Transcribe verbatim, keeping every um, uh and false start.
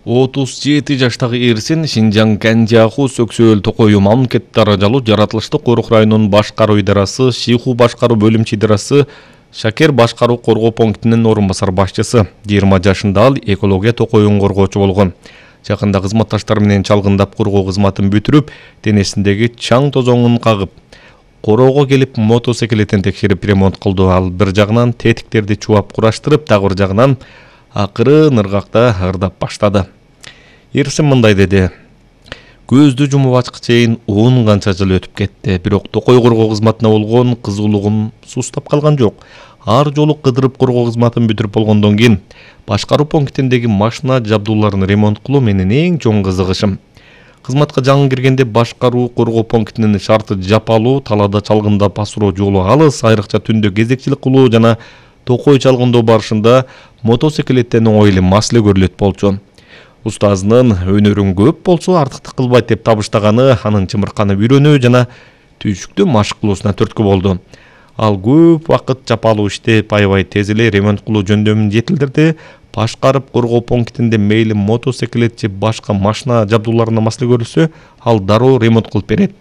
отуз жети жаштагы эрсин Шинжаң Кэнжаху Сөксөөл Токою мамлекеттик даражалуу жаратылыштык корук районунун башкаруу идарасы, Шиху башкаруу бөлүмчө идарасы, Шакер башкаруу коргоо пунктунун орун басар башчысы. жыйырма жашында ал экология токоюн коргоочу болгон. Жакында кызматташтары менен чалгындап коргоо кызматын бүтүрүп, денесиндеги чаң тозоңун кагып, короого келип мотоциклетин текшерип ремонт кылды. Ал бир жагынан тетиктерди чубап кураштырып, дагы бир жагынан акырын ыргакта ырдап баштады. Эрсин мындай деди: көздү жумуп ачкы чейин он канча жыл өтүп кетти, бирок токой коргоо кызматына болгон кызуулугум сустап калган жок. Ар жолу кыдырып коргоо кызматын бүтүрүп болгондон кийин башкаруу пунктиндеги машина жабдууларын ремонт кылуу менин эң чоң кызыгышым. Кызматка жаңы киргенде башкаруу коргоо пунктунун шарты жапалуу, талаада чалгындап асыроо жолу алыс, айрыкча түндө кезекчилик кылуу жана токой чалгындоо барышында мотоциклеттен оңой эле маселе көрүлөт болчу. Устазынын өнөрүн көп болсо артыктык кылбайт деп табыштаганы анын чымырканы үйрөнүү жана түйшүктүү машык кылуусуна түрткү болду. Ал көп вакыт жапалуу иштеп, аябай тез эле ремонт кылуу жөндөмүн жетилдирди. Башкарып коргоо пунктинде мейли мотоциклет же башка машина жабдууларына маселе көрүлсө, ал дароо ремонт кылып берет.